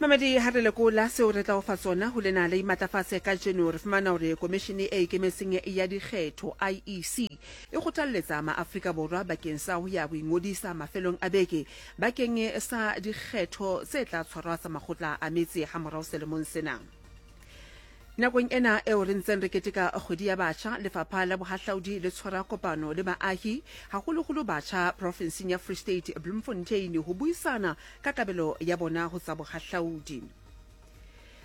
Mamedi, ha re lekola seo re tla o fa tsona ho lena la Imatlafatse kajeno, re fumana hore Komishene e Ikemetseng ya Dikgetho, IEC, e kgothalletsa maAfrika Borwa bakeng sa ho ya ho ingodisa mafelong a beke bakeng sa dikgetho tse tla tshwarwa tsa makgotla a metse hamorao selemong sena. Nakong ena eo re ntseng re keteka Kgwedi ya Batjha, Lefapha la Bohahlaudi le tshwara kopano le baahi, haholoholo batjha profensing ya Free State, Bloemfontein, ho buisana ka kabelo ya bona ho tsa bohahlaudi.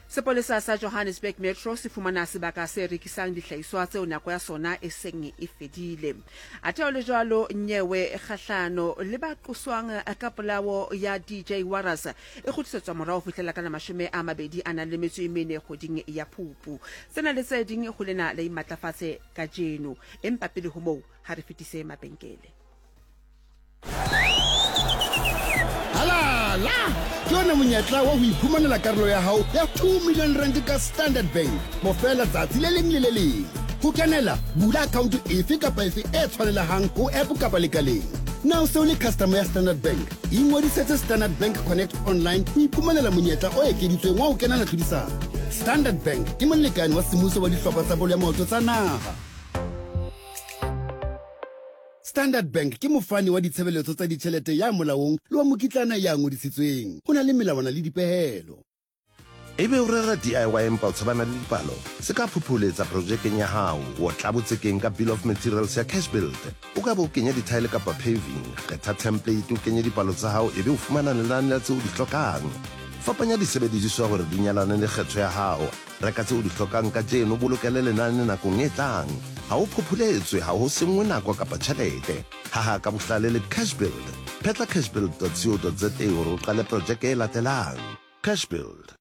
Sepolesa sa Johannesburg Metro se fumana sebaka se rekisang dihlahiswa tseo nako ya sona e seng e fedile. Athe ho le jwalo, nyewe kgahlano le ba qoswang ka polao ya DJ Warras e kgutlisetswa morao ho fihlela ka la 24 kgweding ya Phupu. Tsena le tse ding ho lena la Imatlafatse kajeno. Empa pele ho moo, ha re fetise mabenkele. Halala! Ke ona monyetla wa ho iphumanela karolo ya hao ya 2 million rand ka Standard Bank mofela tsatsi le leng le le leng. Ho kenela, bula account efe kapa efe e tshwanelehang ho app kapa lekaleng. Na o se o le customer ya Standard Bank? Ingodisetse Standard Bank Connect Online ho iphumanela monyetla o ekeditsweng wa ho kenela tlhodisano. Standard Bank ke molekane wa semmuso wa dihlopha tsa bolo ya maoto tsa naha. Standard Bank ke mofani wa ditshebeletso tsa ditjhelete ya molaong le wa mokitlana ya ngodisitsweng. Ho na le melawana le dipehelo. Ebe o rera DIY empa o tshabana le dipalo? Se ka phopholetsa projekeng ya hao. Otla botsekeng ka Bill of Materials ya Cashbuild. O ka be o kenya dithaele kapa paving. Kgetha template o kenye dipalo tsa hao ebe o fumana lenane la tseo o di hlokang. Fapanya disebediswa hore di nyalane le kgetho ya hao. Reka tseo o di hlokang kajeno o bolokele lenane nakong e tlang. Ha o phopholetswe, ha ho senngwe nako kapa tjhelete. Haha ka bohlale le Cashbuild. Phetla cashbuild.co.za hore o qale projeke e latelang. Cashbuild.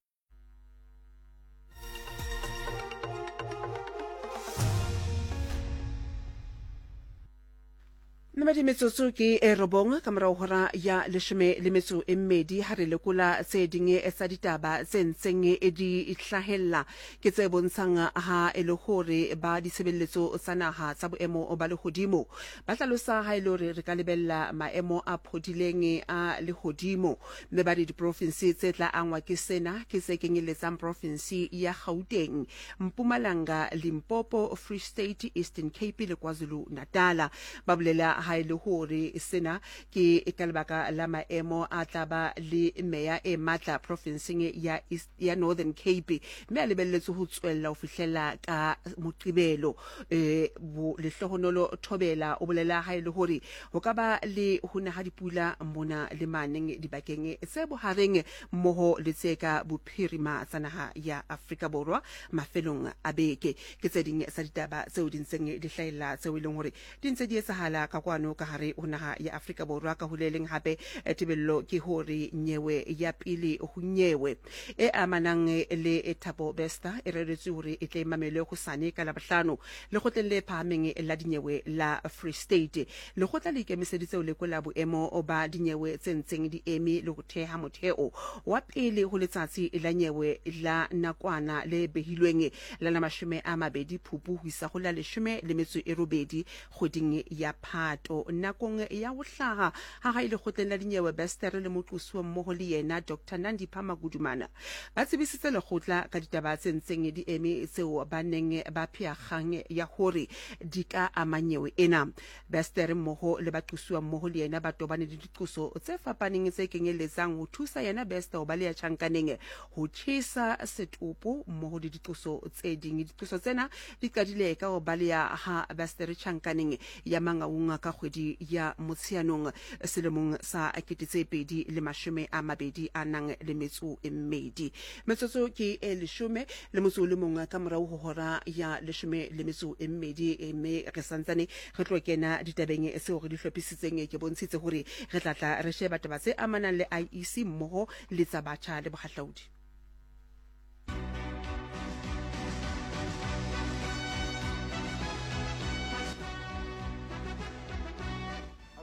Mmedi metsotso ke e robong ka morago hora ya leshome le metso e mmedi ha re lekola tse ding tsa ditaba tse ntseng di hlahella ke tse bontshang ha e le hore ba ditshebeletso tsa naha tsa boemo ba lehodimo ba hlalosa ha e le hore re ka lebella maemo a phodileng a lehodimo Mme ba re diprofinse tse tla angwa ke sena ke tse kenyelletsang profinse ya Gauteng, Mpumalanga, Limpopo, Free State, Eastern Cape le KwaZulu-Natala. Ba bolela ha e le hore sena ke ka lebaka la maemo a tla ba le meya e matla profinseng ya East, ya Northern Cape mme a lebelletswe ho tswella ho fihlela ka Moqebelo. E, bo Lehlohonolo Thobela o bolela ha e le hore ho ka ba le ho na ha dipula mona le maneng dibakeng tse bohareng mmoho le tse ka bophirima tsa naha ya Afrika Borwa mafelong a beke. Ke tse ding tsa ditaba tseo di ntseng di hlahella tseo e leng hore di ntse di etsahala ka kwano ka hare ho naha ya Afrika Borwa. Ka ho le leng hape, tebello ke hore nyewe ya pele ho nyewe e amanang le Thabo Bester e reretswe hore e tle e mamelwe hosane ka Labohlano Lekgotleng le Phahameng la Dinyewe la Free State. Lekgotla le ikemiseditse ho lekola boemo ba dinyewe tse ntseng di eme le ho theha motheo wa pele ho letsatsi la nyewe la nakwana le behilweng la la 20 Phupu ho isa ho la 18 kgweding ya Phato. Nakong ya ho hlaha ha hae lekgotleng la dinyewe, Bester le moqosuwa mmoho le yena Doctor Nandipha Magudumana ba tsebisitse lekgotla ka ditaba tse ntseng di eme tseo ba neng ba phea kgang ya hore di ka ama nyewe ena. Bester mmoho le baqosuwa mmoho le yena ba tobane le diqoso tse fapaneng tse kenyelletsang ho thusa yena Bester ho baleha tjhankaneng, ho tjhesa setopo mmoho le diqoso tse ding. Diqoso tsena di qadile ka ho baleha ha Bester tjhankaneng ya Mangaung ka kgwedi ya Motsheanong selemong sa 2022. Metsotso ke e leshome le motso o le mong ka morao ho hora ya leshome le metso e mmedi, mme re santsane re tlo kena ditabeng tseo re di hlophisitseng. Ke bontshitse hore re tla tla re sheba taba tse amanang le IEC mmoho le tsa batjha le bohahlaudi.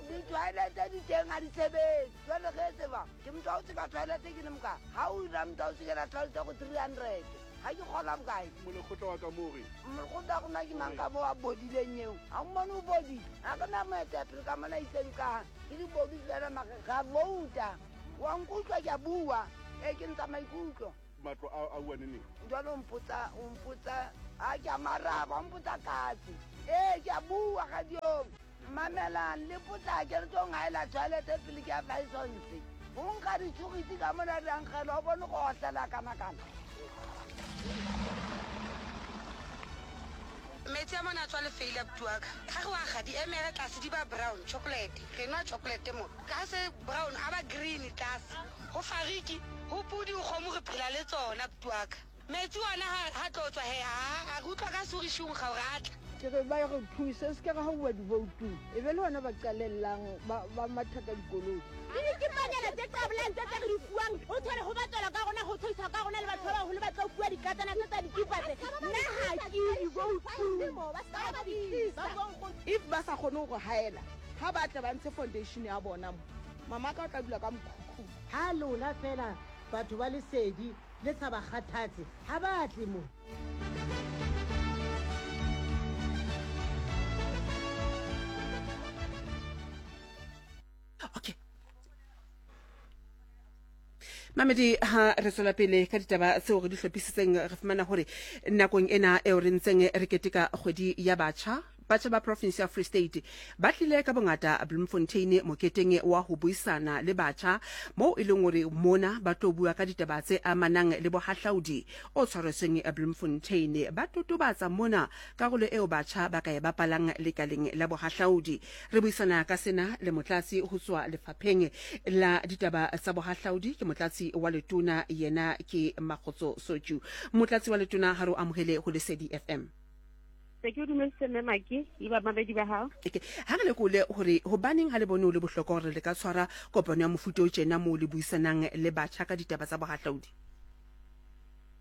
Di-toilet di teng ga di sebetse jale ge tseba ke motho wa o tseka toilet ke le moka ga o ira motho wa o tsekela tšhelete go 300 ga ke kgola bokae? Molekgotla wa ka mo re. Molekgotla wa rona ke mang ka mo a bodileng eo ga o mmone o bodile ga re na moetapele ka mona itseng ka ke dibodu fela mare ra vouta. Wa nkutlwa ke a bua. Ee, ke ntsha maikutlo. Matlo a a uwa neneng? Jwale o mpotsa, o mpotsa, a ke a maraba, o mpotsa katse. Ee, ke a bua radiong. Mamelang, le potlake re tlo ngaela tšhelete pele ke ya Fisons. Go nkga ditšhogiti ka mona di a nkgela, o bone go otlela kana-kana. Metsi a mona a tswa lefeile abuti wa ka. Ga re wa ga di emere tlase di ba brown, chocolate. Re nwa chocolate mo. Ka se brown a ba green tlase. Ho fariki, ho pudi, ho kgomo re phela le tsona abuti wa ka. Metsi ona ha ha tlo tswa he ha a re utlwa ka suri shunkga hore a tla. Ke re ba re thuse, se ke ra hauwa divoutung, e be le hona ba qalellang ba, ba matha ka dikoloi. Ke dikipanyana tse qabolang tse tse re di fuwang, o thole ho batswalwa ka rona, ho tshoiswa ka rona le batho ba baholo ba tlo fuwa dikatsana tse tsa dikipa tse. Nna ha ke divoutung. If ba sa kgone ho re haela, ha ba tle ba ntshe foundation ya bona mo. Mama ka o tla dula ka mokhukhung. Ha lona feela batho ba lesedi le sa ba kgathatse, ha ba tle mo. Okay. Mamedi, ha re tswela pele ka ditaba tseo re di hlophisitseng, re fumana hore nakong ena eo re ntseng re keteka kgwedi ya batjha, batjha ba province ya Free State ba tlile ka bongata Bloemfontein moketeng wa ho buisana le batjha, moo e leng hore mona ba tlo bua ka ditaba tse amanang le bohahlaudi o tshwaretsweng Bloemfontein. Ba totobatsa mona karolo eo batjha ba ka e bapalang lekaleng la bohahlaudi. Re buisana ka sena le motlatsi ho tswa lefapheng la ditaba tsa bohahlaudi, ke motlatsi wa letona, yena ke Makgotso Sotju. Motlatsi wa letona, ha re o amohele ho Lesedi FM. Se ke o dumedise Mme Maki le bamamedi ba hao. Okay. Ha re lekole hore hobaneng ha le bone ho le bohlokwa hore le ka tshwara kopano ya mofuta o tjena moo le buisanang le batjha ka ditaba tsa bohahlaudi?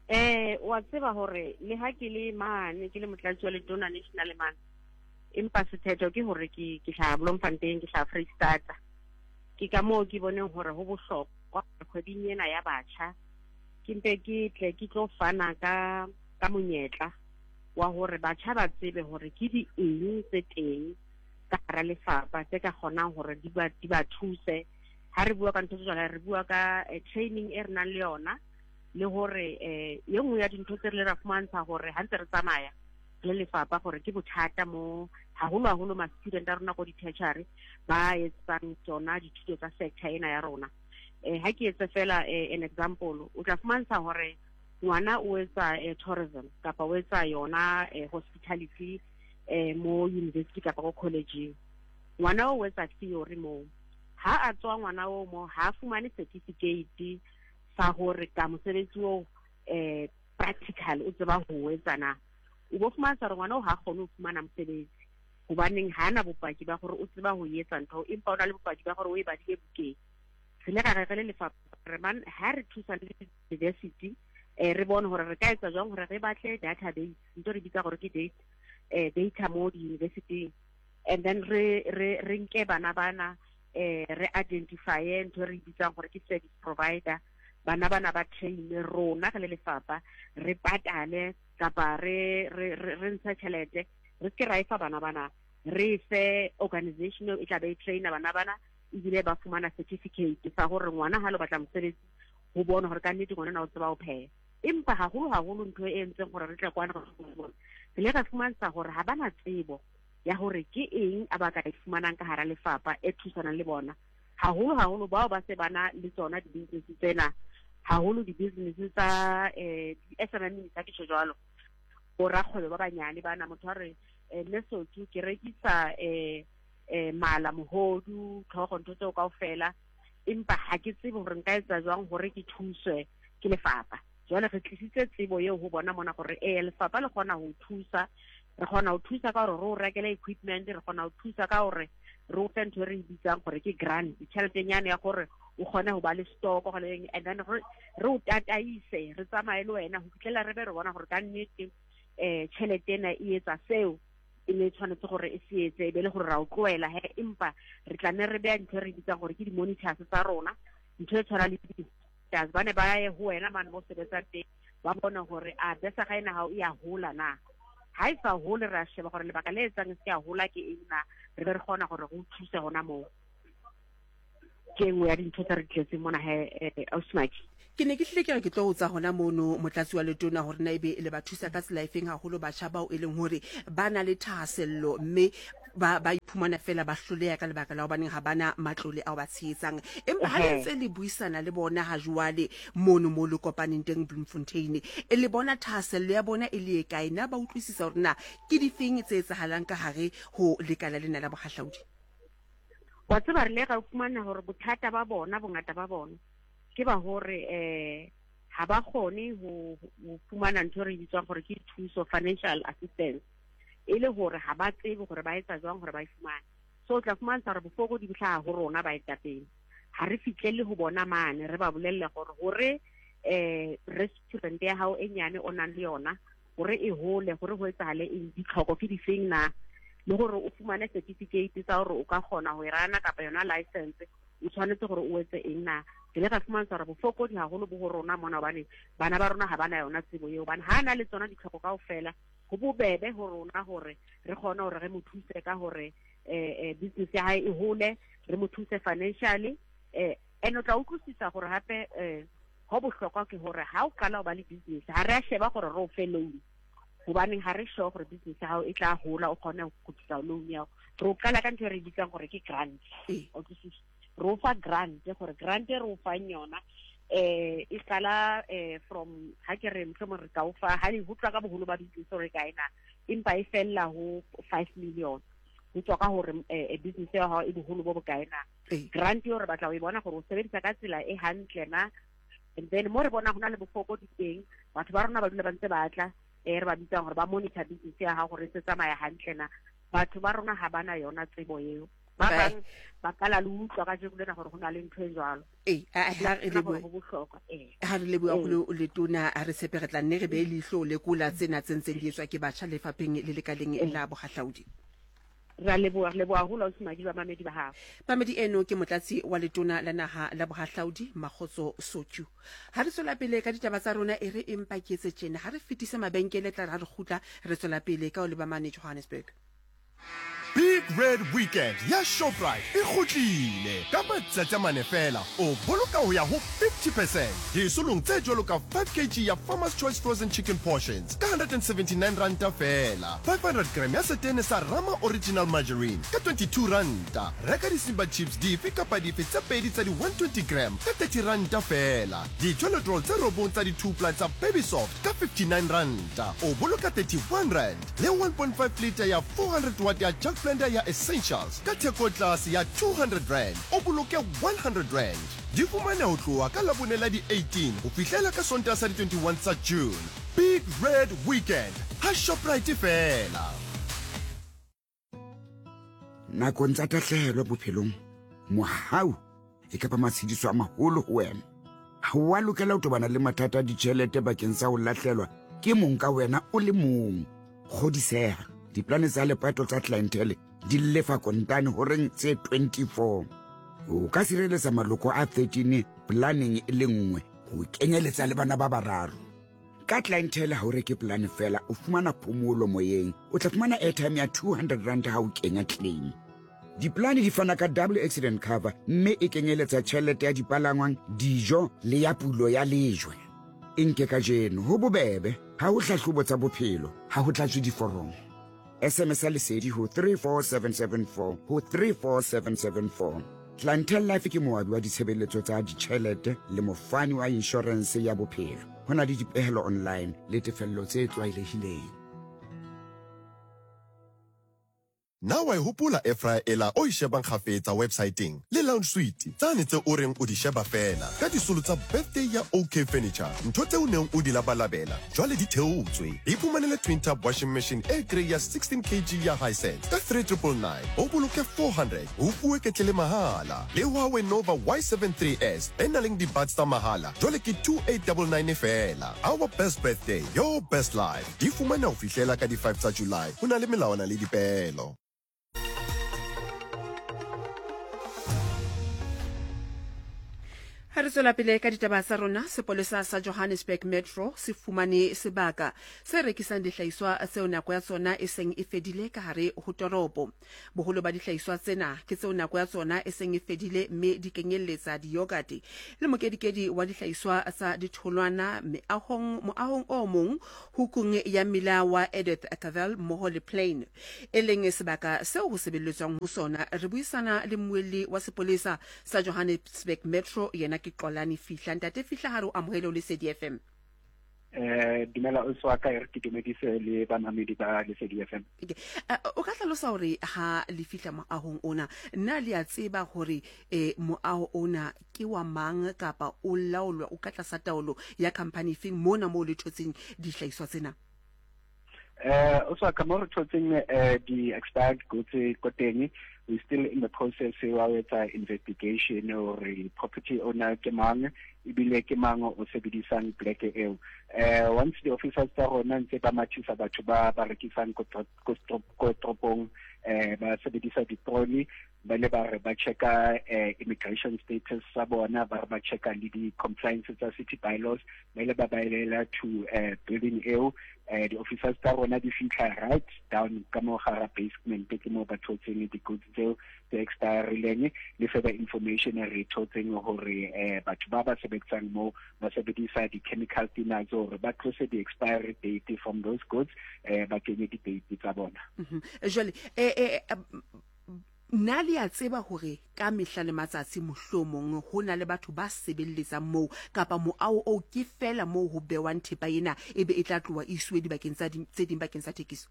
Eh, wa tseba hore le ha ke le mane ke le motlatsi wa letona national mane, empa sephetho ke hore ke ke hlaha Bloemfontein, ke hlaha Freistata. Ke ka moo ke boneng hore ho bohlokwa kgweding ena ya batjha ke mpe ke tle ke tlo fana ka ka monyetla wa hore batjha ba tsebe hore ke di eng tse teng ka hara lefapha tse ka kgonang hore di ba di ba thuse. Ha re bua ka ntho tse jwalo, re bua ka eh, training e re nang le yona, le hore eh ye nngwe ya dintho tse re le ra fumantsha hore ha ntse re tsamaya le lefapha gore ke bothata mo haholo haholo ma student a rona ko di-tertiary ba etsang tsona dithuto tsa sector ena ya rona. Eh ha ke etse fela eh, an example, o tla fumantsha hore ngwana o etsa eh, tourism kapa o etsa yona eh, hospitality eh, mo university kapa ko collegeng. Ngwana o etsa theory moo, ha a tswa ngwana o mo ha a fumane certificate sa hore ka mosebetsi oo eh practical o tseba ho etsa na. O bo fumantsha hore ngwana o ha kgone ho fumana mosebetsi hobaneng ha na bopaki ba gore o tseba ho etsa ntho, empa o na le bopaki ba gore o e badile bukeng. Re ile ra re re le lefapha re man ha re thusa le university eh re bone hore re ka etsa jwang hore re batle database, ntho re bitsa gore ke date eh data mo di-university, and then re re re nke bana bana eh re identifye ntho re bitsang gore ke service provider. Bana bana ba train rona re le lefapha, re patale kapa re re re ntshe tjhelete, re se ra e fa bana bana, re fe organization e tla be e trainer bana bana, ebile ba fumana certificate sa hore ngwana ha lo batla mosebetsi ho bona hore ka nnete ngwana o tseba ho pheha. Empa haholo haholo ntho e entseng hore re tle kwana, re ile ra fumantsha hore ha bana tsebo ya hore ke eng a ba ka e fumanang ka hara lefapha e thusanang le bona, haholo haholo bao ba se bana le tsona di-business tsena, haholo di-business tsa eh di-SMME tsa ke tjho jwalo, bo rakgwebo ba banyane bana. Motho a re eh, mme Sotho ke rekisa eh eh mala, mohodu, tlhogo, ntho tseo kaofela, empa ha ke tsebe hore nka etsa jwang hore ke thuswe ke lefapha. Jwale re tlisitse tsebo eo ho bona mona gore ee lefapha le kgona ho thusa, re kgona ho thusa ka hore re o rekele equipment, re kgona ho thusa ka hore re o fe ntho e re e bitsang gore ke grant, tšheletenyane ya gore o kgone ho ba le stock gore, and then re o tataise, re tsamaye le wena ho fitlhela re be re bona gore ka nnete um tšhelete ena e etsa seo e ne e tshwanetse gore e se etse, e be le gore ra o tlohela he. Empa re tla ne re beya ntho e re bitsang gore ke di-monitors tsa rona, ntho e tshwana le di ba ne ba ye ho wena mane mo sebetsang teng, ba bone hore a besa ga ena hao e a hola na. Ha e sa hole, re a sheba gore lebaka le etsang e se a hola ke eng na, re be re kgona gore re o thuse hona moo. Ke e nngwe ya dintho tse re di tletseng mona he, eh, Ausi Maki. Ke ne ke hlile ke re ke tlo botsa hona mono Motlatsi wa Letona hore na ebe le ba thusa ka tsela efeng haholo batjha bao e leng hore ba na le thahasello mme ba ba iphumana feela ba hloleha ka lebaka la hobaneng ha ba na matlole ao ba tshehetsang. Empa ha le ntse le buisana le bona ha jwale mono moo le kopaneng teng Bloemfontein, e le bona thahasello ya bona e le e kae? Na ba utlwisisa hore na ke difeng tse etsahalang ka hare ho lekala lena la bohahlaudi? Wa tseba re ile ra fumana hore bothata ba bona, bongata ba bona, ke ba hore eh ha ba kgone ho fumana ntho e re bitswang gore ke thuso, financial assistance, e le hore ha ba tsebe gore ba etsa jwang gore ba e fumane. So o tla fumantsha gore bofokodi bo hlaha ho rona baetapele, ha re fihlelle ho bona mane re ba bolelle gore hore eh restaurant ya hao e nyane o nang le yona gore e hole, gore ho etsahale eng, ditlhoko ke difeng na, le gore o fumane certificate tsa gore o ka kgona ho e rana kapa yona license, o tshwanetse gore o etse eng na. Ke le ra fumantsha gore bofokodi haholo bo ho rona mona, hobane bana ba rona ha ba na yona tsebo eo, hobane ha na le tsona ditlhoko kaofela, ho bobebe ho rona hore re kgone hore re mo thuse ka hore business ya hae e hole, re mo thuse financially. And o tla utlwisisa gore hape ho bohlokwa ke hore ha o qala ho ba le business, ha re a sheba gore re o fe loan, hobaneng ha re sure gore business ya hao e tla hola o kgone ho kgutlisa loan ya hao. Re o qala ka ntho e re bitsang gore ke grant. O utlwisisa? Re o fa grant, gore grant e re o fang yona e qala from, ha ke re mohlomong re ka o fa, ha ho tloha ka boholo ba business hore e kae na, empa e fella ho 5 million. Ho tswa ka hore business ya hao e boholo bo bokae na. Grant eo re batla ho e bona gore o sebedisa ka tsela e hantle na. And then mo re bona ho na le bofokodi teng, batho ba rona ba dula ba ntse ba tla, re ba bitsang gore ba monitor business ya hao gore e se tsamaya hantle na. Batho ba rona ha bana yona tsebo eo. Ba bang ba qala le utlwa kajeno lena gore ho na le ntho e jwalo. Ha re lebohe. Ho bohlokwa, ee. Ha re leboha haholo Letona, ha re tshepe re tla nne re behe leihlo lekola tsena tse ntseng di etswa ke batjha lefapheng le lekaleng la bohahlaudi. Re a leboha, re leboha haholo ausi Madi, bamamedi ba hao. Mamedi eno ke motlatsi wa letona la naha la bohahlaudi Makgotso Sotyu. Ha re tswela pele ka ditaba tsa rona, e re empa ke etse tjena, ha re fetise mabenkele tla re ha re kgutla re tswela pele ka ho leba mane Johannesburg. Big Red Weekend ya Shoprite e kgutlile! Ka matsatsi a mane feela, o boloka ho ya ho 50 percent disolong tse jwalo ka 5 kg ya Farmer's Choice Frozen Chicken Portions ka 179 ranta feela, 500 gram ya setene sa Rama Original Margarine ka 22 ranta, reka di-Simba Chips dife kapa dife tse pedi tsa di-120 gram ka 30 ranta feela, di-toilet roll tse robong tsa di-two-ply tsa Baby Soft ka 59 ranta, o boloka 31 rand. Le 1.5 litre ya 400 watt ya Jug Blender ya Essentials ka theko tlase ya 200 rand, o boloke 100 rand. Di fumane ho tloha ka Labone la di 18 ho fihlela ka Sontaha sa di 21 tsa June. Big Red Weekend ha Shoprite feela. Nakong tsa tahlehelo bophelong, mohau e ka ba matshediso a maholo ho wena. Ha o a lokela ho tobana le mathata a ditjhelete bakeng sa ho lahlelwa ke mong ka wena o le mong. Kgodiseha, diplane tsa lepato tsa Clientele di lefa kontane horeng tse 24. O ka sireletsa maloko a 13 planeng e le nngwe ho kenyeletsa le bana ba bararo. Ka Clientele ha o reke polane fela, o fumana phomolo moyeng. O tla fumana airtime ya 200 rand ha o kenya claim. Dipolane di fana ka double accident cover mme e kenyeletsa tjhelete ya dipalangwang, dijo le ya pulo ya lejwe. E nke kajeno, ho bobebe, ha ho hlahlobo tsa bophelo, ha ho tlatswe diforomo. SMS ya Lesedi ho 34774 ho 34774. Clientele Life ke moabi wa ditshebeletso tsa ditjhelete le mofani wa inshorense ya bophelo. Ho na le dipehelo online le tefello tse tlwaelehileng. Na wa e hopola air fryer ela o e shebang kgafetsa websaeteng le lounge suite tsane tse o reng o di sheba feela ka disolo tsa birthday ya OK Furniture? Ntho tse o neng o di labalabela jwale di theotswe. Iphumanele twin tub washing machine e grey ya 16 kg ya Hisense ka 3999, o boloke 400, o fuwe ketlele mahala. Le Huawei Nova Y73s e nang le di-buds tsa mahala jwale ke 2899 feela. Our best birthday, your best life. Di fumaneha ho fihlela ka di 5 tsa July. Ho na le melawana le dipeelo. Ha re tswela pele ka ditaba tsa rona, sepolesa sa Johannesburg Metro se fumane sebaka se rekisang dihlahiswa tseo nako ya tsona e seng e fedile ka hare ho toropo. Boholo ba dihlahiswa tsena ke tseo nako ya tsona e seng e fedile mme di kenyelletsa diyogate le mokedikedi wa dihlahiswa tsa ditholwana meahong moahong o mong hukung ya mmila wa Edith Cavell mmoho le Plain e leng sebaka seo ho sebeletswang ho sona. Re buisana le mmuelli wa sepolesa sa Johannesburg Metro, yena ke Xolani Fihla. Ntate Fihla, ha re o amohele o Lesedi FM. Eh, dumela o wa ka, e re ke dumedise le bamamedi ba Lesedi FM. Okay. O ka hlalosa hore ha le fihla moahong ona, na le a tseba hore eh, moaho ona ke wa mang kapa o laolwa o ka tlasa taolo ya company efeng mona moo le thotseng dihlahiswa tsena? Eh, o tswa ka mo re thotseng eh, di-expired goods ko teng, we still in the process wa ho etsa investigation hore property owner ke mang ebile ke mang o sebedisang pleke eo. Eh, once the officers tsa rona ntse ba mathisa batho ba ba rekisang ko toropong, eh, ba sebedisa di-trolley, ba le ba re ba checka eh, immigration status sa bona, ba re ba checka le di-compliance tsa city bylaws, ba ile ba baelela to eh, building eo. Eh, di-officers tsa rona di fitlha right down ka mo gara basement, ke mo ba thotseng di-goods tseo tse expirileng. Le further information re thotseng hore eh, batho ba ba sebetsang mo ba sebedisa di-chemical thinners hore ba tlose di-expiry date from those goods, eh, ba kenye di-date tsa bona. Jwale eh, na le a tseba hore ka mehla le matsatsi mohlomong ho na le batho ba sebelletsang moo, kapa moaho oo ke feela moo ho bewang thepa ena ebe e tla tloha e isiwe dibakeng tsa tse ding bakeng sa thekiso?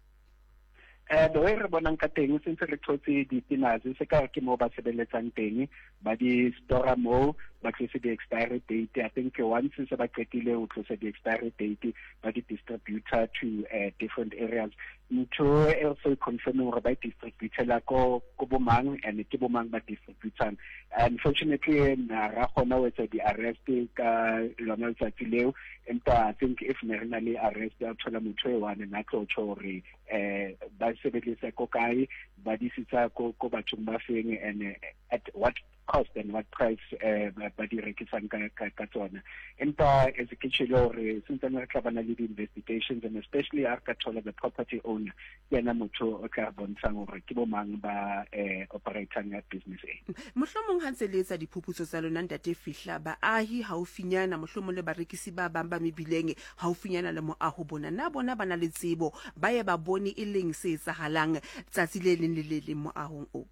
Eh, the way re bonang ka teng, sentse re thotse di-thinners, se ka ke moo ba sebeletsang teng, ba di stora moo, ba tlose di-expiry date. I think once se ba qetile ho tlosa di-expiry date, ba di distributor to different areas. Ntho e re so confirming hore ba distributela ko ko bomang and ke bomang ba distributang. Unfortunately, na ra kgona ho etsa di-arrest ka lona letsatsi leo, empa I think if ne re na le arrest ya thola motho e one, na tlo tjho hore eh ba sebedisa ko kae, ba disitsa ko ko bathong ba feng and at what cost and what price eh ba di rekisang ka ka, ka tsona. Empa as ke tjhelo hore sentsane re tla bana le di-investigations, and especially ha re ka thola the property owner, ke yena motho o tla re bontshang hore ke bo mang ba eh operatang ya business e. Mohlomong ha ntse le etsa diphuputso tsa lona, Ntate Fihla, baahi haufinyana, mohlomong le barekisi ba bang ba mebileng haufinyana le moaho bona, na bona ba na le tsebo, ba ye ba bone e leng se etsahalang tsatsi le leng le le leng moahong o?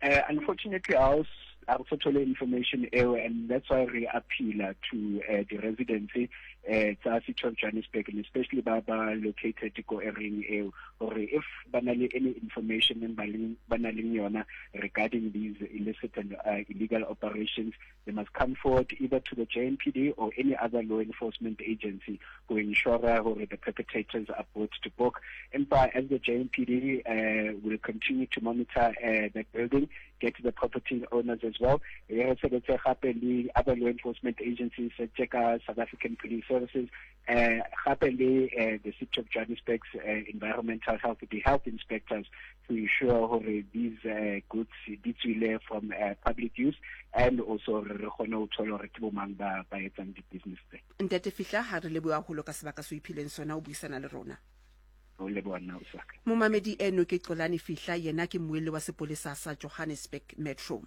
Unfortunately, I also thole information eo, and that's why re appeal to the residents tsa City of Johannesburg, and especially ba ba located ko area eo, hore if ba na le any information ba leng ba na leng yona regarding these illicit and illegal operations, they must come forward either to the JMPD or any other law enforcement agency to ensure hore the perpetrators are brought to book. Empa as the JMPD will continue to monitor that building, get to the property owners as well. Re sebetse gape le other law enforcement agencies tse ka South African Police Services, gape le the City of Johannesburg's environmental health, the health inspectors, to ensure hore these goods di tswile from public use, and also re kgone ho thola hore ke bo mang ba ba etsang di-business tse. Ntate Fihla, ha re leboha haholo ka sebaka se o iphileng sona o buisana le rona. O leboha nna, Osaka. Momamedi eno ke Xolani Fihla, yena ke mmuelli wa sepolesa sa Johannesburg Metro.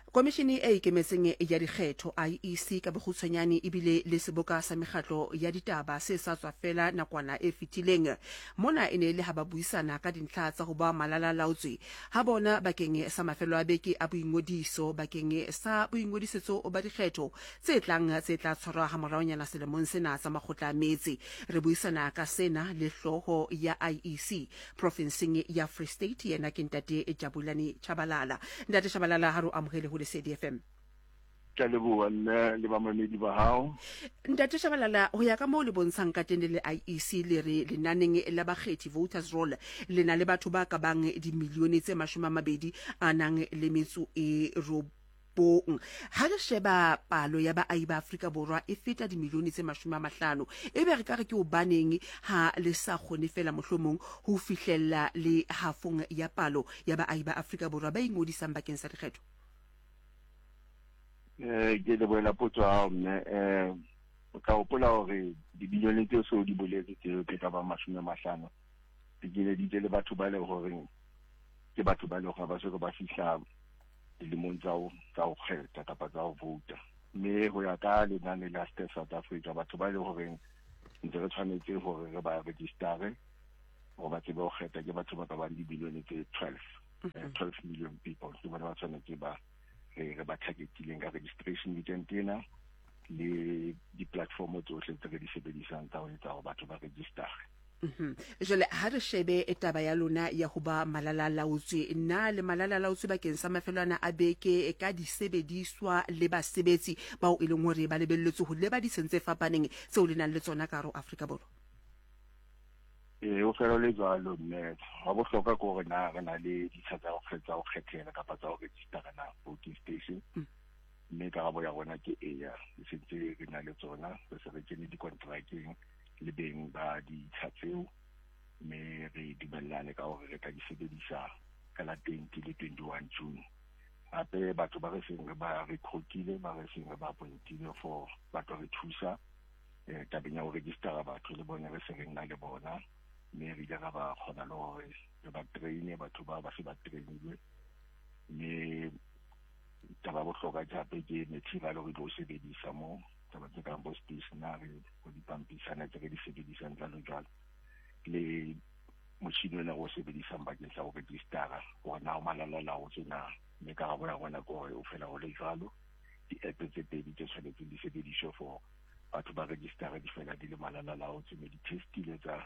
Komishene e ikemetseng ya dikgetho, IEC ka bokgutshwanyane, e bile le seboka sa mekgatlo ya ditaba se sa tswa fela nakwana e fetileng. Mona e ne e le ha ba buisana ka dintlha tsa ho ba malalalaotswe ha bona bakeng sa mafelo a beke a boingodiso bakeng sa boingodisetso ba dikgetho tse tlang tse tla tshwarwa ha moraonyana selemong sena tsa makgotla a metse. Re buisana ka sena le hlooho ya IEC profenseng ya Free State, yena ke Ntate Jabulani Tshabalala. Ntate Tshabalala, ha re o amohele ho Lesedi FM. Ke a leboha nna le bamamedi ba hao. Ntate Tshabalala, ho ya ka moo le bontshang ka teng le le IEC, le re lenaneng la bakgethi, voters roll, le na le batho ba ka bang dimilione tse 20 a nang le metso e robong. Ha re sheba palo ya baahi ba Afrika Borwa e feta dimilione tse 50, ebe re ka re ke hobaneng ha le sa kgone feela mohlomong ho fihlella le hafong ya palo ya baahi ba Afrika Borwa ba ingodisang bakeng sa dikgetho? Eh, ke lebohela potso ya hao mme. Eh, o tla hopola hore dibilione tseo se o di boletse tseo tse ka bang 50 di keleditse le batho ba leng horeng ke batho ba leng gore ba soka ba fihla dilemong tsa ho tsa ho kgetha kapa tsa ho vouta. Mme ho ya ka lenane la Stats South Africa, batho ba leng horeng ntse re tshwanetse hore re ba registere gore ba tsebe ho kgetha ke batho ba ka bang dibilione tse 12, 12 million people ke bona ba tshwanetse ba re re ba targetileng ka registration weekend ena le di-platform tsohle tse re di sebedisang tsa ho etsa hore batho ba registere. Jwale ha re shebe taba ya lona ya ho ba malalalaotswe. Na le malalalaotswe bakeng sa mafelo ana a beke ka disebediswa le basebetsi bao e leng hore ba lebelletswe ho leba ditsheng tse fapaneng tseo le nang le tsona ka hare ho Afrika Borwa? Ee, ho fela ho le jwalo mme. Hwa bohlokwa ke hore na re na le ditsha tsa ho tsa ho kgethela kapa tsa ho registera na voting station. Mme karabo ya rona ke eya, e sentse re na le tsona, re se re kene dikontrakeng le beng ba ditsha tseo mme re dumellane ka hore re tla di sebedisa ka la 20 le 21 June. Hape batho ba re seng re ba recruitile, ba re seng re ba appointile for ba tlo re thusa eh, tabeng ya ho registera batho le bone re se re nna le bona mme re ile ra ba kgona le hore re ba traine batho ba ba se ba trainilwe mme taba bohlokwa ke hape ke material re tlo sebedisa mo taba tse kang bo stationary bo dipampisana tse re di sebedisang jwalo jwalo le motšhini ona re o sebedisang bakeng sa go registera gore na o malalalaotswe na mme karabo ya rona ke gore o fela go le jwalo di-app tse pedi tse tshwanetseng di sebediswe for batho ba register di fela di le malalalaotswe mme di testile tsa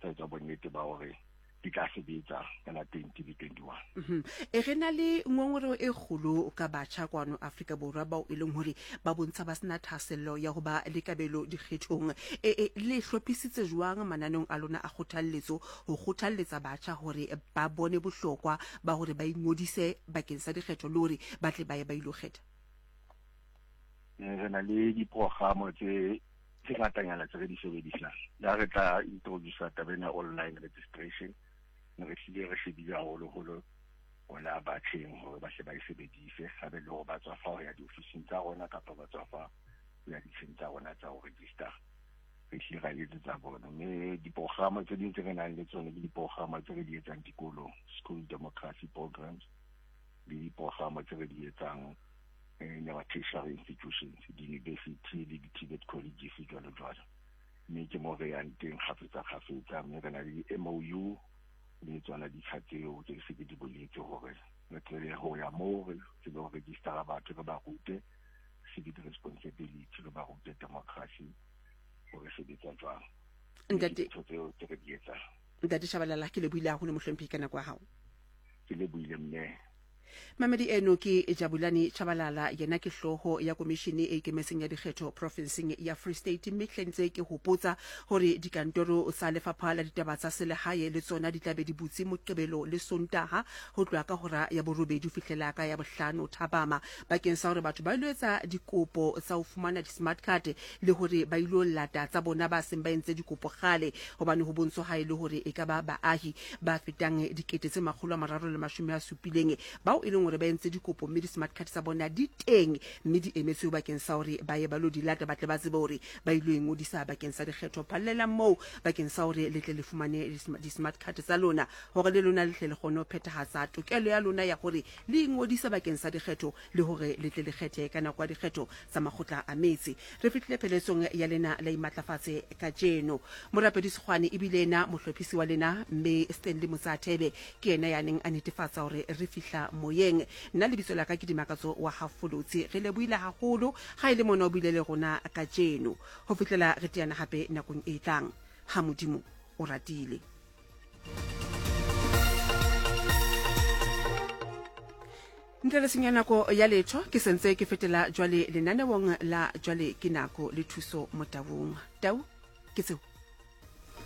tsa etsa bonnete ba hore di tla sebetsa ka la 20 le 21. E re na le ngongoreo e kgolo ka batjha kwano Afrika Borwa bao e leng hore ba bontsha ba sena thahasello ya ho ba le kabelo dikgethong. E, e, le hlophisitse jwang mananeong a lona a kgothalletso ho kgothalletsa batjha hore ba bone bohlokwa ba hore ba ingodise bakeng sa dikgetho le hore ba tle ba ye ba ilo kgetha? Re na le diprogramo tse tse ngatanyana tse re di sebedisang. Le ha re tla introduce taba ena online registration, ne re hlile re shebile haholoholo bona batjheng hore ba hle ba e sebedise, haebe le hore ba tswa fa ho ya diofising tsa rona kapa ba tswa fa ho ya ditsheng tsa rona tsa ho register. Re hlile ra etsetsa bona. Mme diprogramo tse ding tse re nang le tsone ke diprogramo tse re di etsang dikolong, school democracy programs, le diprogramo tse re di etsang in our tertiary institutions, di-university le di-TVET colleges jwalo jwalo. Mme ke mo re yang teng kgafetsa kgafetsa, mme re na le di-M_O_U le tsona ditsha tseo tse se ke di boletse hore re tsebe ho ya moo re tsebe ho registera batho, re ba rute civic responsibility, re ba rute democracy hore sebetsa jwang. Ntate Ntho tseo tse re di etsang. Ntate Shabalala, ke lebohile haholo mohlomphehi ka nako ya hao. Ke lebohile mme. Mamedi eno ke Jabulani Tshabalala, yena ke hlooho ya komishene e ikemetseng ya dikgetho profenseng ya Free State. Mme hle ntse ke hopotsa hore dikantoro tsa lefapha la ditaba tsa selehae le tsona di tla be di butse Moqebelo le Sontaha ho tloha ka hora ya borobedi ho fihlela ka ya bohlano thapama bakeng sa hore batho ba ilo etsa dikopo tsa ho fumana di-smart card le hore ba ilo lata tsa bona ba seng ba entse dikopo kgale, hobane ho bontsho ha e le hore e ka ba baahi ba fetang 370 bao e leng hore ba entse dikopo mme di-smart card tsa bona di teng mme di emetswe bakeng sa hore ba ye ba lo di lata ba tle ba tsebe hore ba ilo ingodisa bakeng sa dikgetho. Phallelang moo bakeng sa hore le tle le fumane di-smart card tsa lona hore le lona le tle le kgone ho phethahatsa tokelo ya lona ya hore le ingodise bakeng sa dikgetho le hore le tle le kgethe ka nako ya dikgetho tsa makgotla a metse. Re fihlile pheletsong ya lena la Imatlafatse kajeno. Morapedi Sekgwane e bile yena mohlophisi wa lena, mme Stanley Motsathebe ke yena ya neng a netefatsa hore re fihla moyeng. Nna lebitso la ka ke Dimakatso wa ha Folotsi. Re lebohile haholo ha e le mona o bile le rona kajeno. Ho fihlela re teana hape nakong e tlang, ha Modimo o ratile. Ntle le senya nako ya letho, ke sentse ke fetela jwale lenaneong la Jwale ke Nako le Thuso Motaung. Tau, ke tseo.